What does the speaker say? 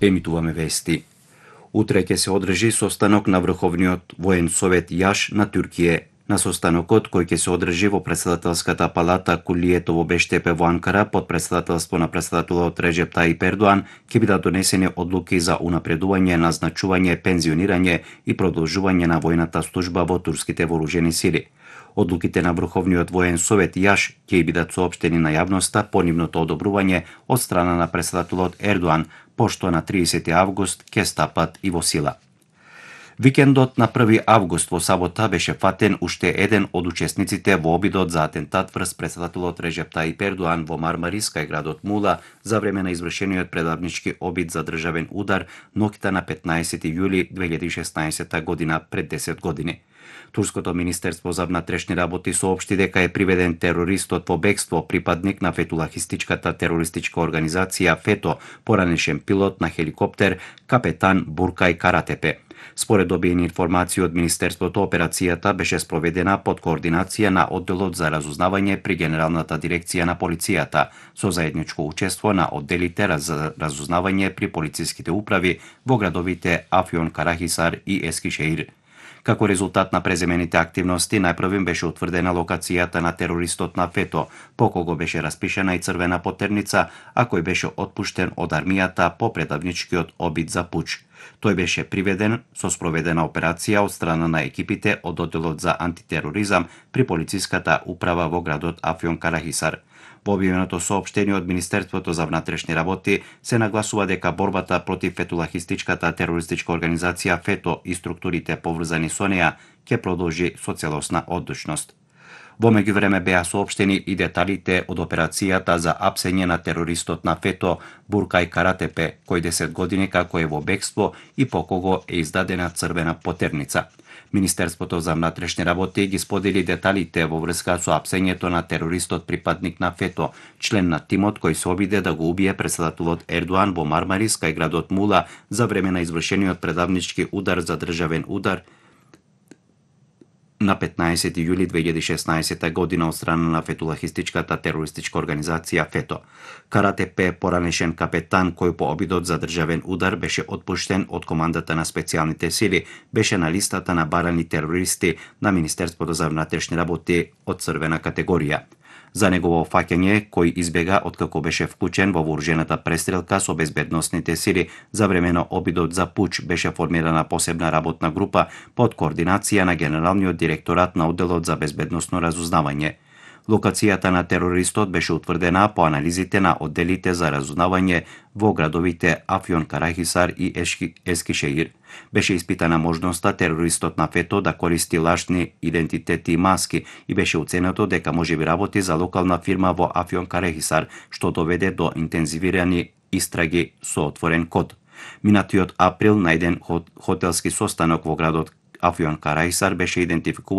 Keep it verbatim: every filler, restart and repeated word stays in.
Емитуваме вести. Утре ќе се одржи состанок на Врховниот воен совет Јаш на Туркија. На состанокот, кој ќе се одржи во председателската палата Кулието во Бештепе во Анкара под председателство на председателот Реджеп Таип Ердоан, ќе бидат донесени одлуки за унапредување, назначување, пензионирање и продолжување на војната служба во турските вооружени сили. Одлуките на Врховниот воен совет Јаш ќе бидат соопштени на јавноста по нивното одобрување од страна на председателот Ердоан, пошто на триесети август ќе стапат и во сила. Викендот на први август во сабота беше фатен уште еден од учесниците во обидот за атентат врз председателот Реджеп Таип Ердоан во Мармарис кај градот Мула за време на извршениот предавнички обид за државен удар ноќта на петнаесети јули две илјади и шеснаесетта година, пред десет години. Турското министерство за внатрешни работи соопшти дека е приведен терористот во бегство, припадник на фетулахистичката терористичка организација ФЕТО, поранешен пилот на хеликоптер капетан Буркај Каратепе. Според добиени информации од Министерството, операцијата беше спроведена под координација на одделот за разузнавање при Генералната дирекција на полицијата, со заедничко учество на одделите за разузнавање при полициските управи во градовите Афјон Карахисар и Ескишеир. Како резултат на преземените активности, најпрвим беше утврдена локацијата на терористот на ФЕТО, по кого беше распишена и црвена потерница, а кој беше отпуштен од армијата по предавничкиот обид за пуч. Тој беше приведен со спроведена операција од страна на екипите од одделот за антитероризам при полициската управа во градот Афјон Карахисар. Во објавеното соопштение од Министерството за внатрешни работи се нагласува дека борбата против фетулахистичката терористичка организација ФЕТО и структурите поврзани со неа ќе продолжи со целосна одлучност. Во меѓувреме беа соопштени и деталите од операцијата за апсење на терористот на ФЕТО Буркај Каратепе, кој десет години како е во бегство и по кого е издадена црвена потерница. Министерството за внатрешни работи ги сподели деталите во врска со апсењето на терористот припадник на ФЕТО, член на тимот кој се обиде да го убие председателот Ердоан во Мармарис кај градот Мула за време на извршениот предавнички удар за државен удар на петнаесети јули две илјади и шеснаесетта година од страна на фетулахистичката терористичка организација ФЕТО. Каратепе, поранешен капетан кој по обидот за државен удар беше отпуштен од командата на специјалните сили, беше на листата на барани терористи на Министерството за внатрешни работи од црвена категорија. За негово фаќање, кој избега откако беше вклучен во вооружената престрелка со безбедносните сили за време на обидот за пуч, беше формирана посебна работна група под координација на Генералниот директорат на одделот за безбедносно разузнавање. Локацијата на терористот беше утврдена по анализите на одделите за разузнавање во градовите Афјон Карахисар и Ескишеир. Беше испитана можноста терористот на ФЕТО да користи лажни идентитети и маски и беше оценето дека можеби работи за локална фирма во Афјон Карахисар, што доведе до интензивирани истраги со отворен код. Минатиот април на еден хотелски состанок во градот Афјон Карахисар беше идентификуван